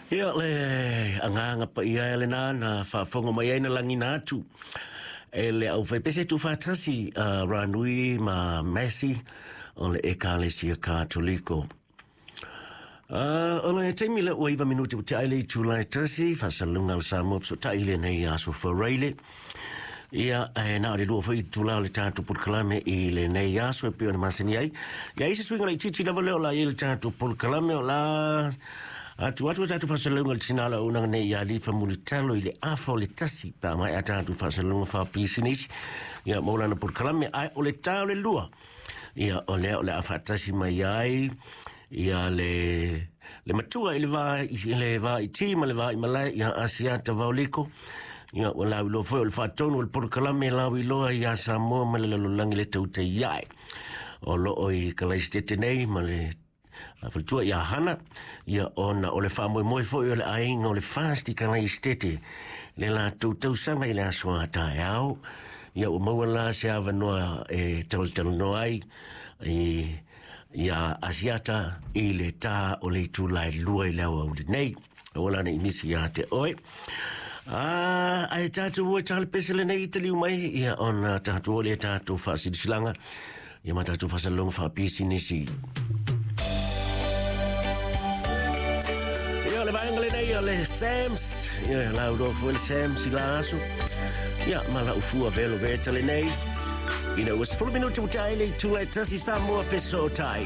Ia, le agaga paia e lenā na faafofoga mai ai na lagina atu e le aufaipese tuufaatasi a Ranui ma Massey o le Ekalesia Katoliko. O le taimi lea ua 9 minute ua tea ai le itula e 1, faasalalauga a le Samoa Fesootai i lenei aso Faraile. Ia, e na o le 2 foi itula o le tatou polokalame i lenei aso e pei ona masani ai. Ia, i se suiga laitiiti lava lea o le a i ai le tatou polokalame o le a atu atu le tatou faasalalauga i le tina o le auaunaga nei ia Lifa Mulitalo i le afa o le 1 pe a maea tatou faasalalauga faapisinisi ia mo lana polokalame. Ae o le ta o le 2, ia o lea o le a faatasi mai ai ia le matua i le va i le va i ti ma le va i malae ia Asiata Vaoliko. Ia ua lauiloa foi o le faatonu o le polokalame lauiloa ia Samoa ma le lalolagi le tautai ae o loo i Kalaisitete nei ma le faletua ia Hana, ia ona o le faamoemoe foi o le aiga o le Fast i Kalaisitete le latou tausaga i le aso a taeao. Ia ua maua la se avanoa e talatalanoa ai i ia Asiata i le tā o le itula e 2 i le aoauli nei. Aua la ne i misi ia te oe. Ae tatou o e talepese lenei i taliu mai, ia ona tatou o le tatou faasilasilaga, ia ma tatou faasalalauga faapisinisi. Ia, o le vaega lenei o le Sams, ia lauloa foi le Sams i la aso. Ia, ma lau fua velo veta lenei. Ina ua 10 minuti ua tea ai le itula e 1 Samoa Fesootai.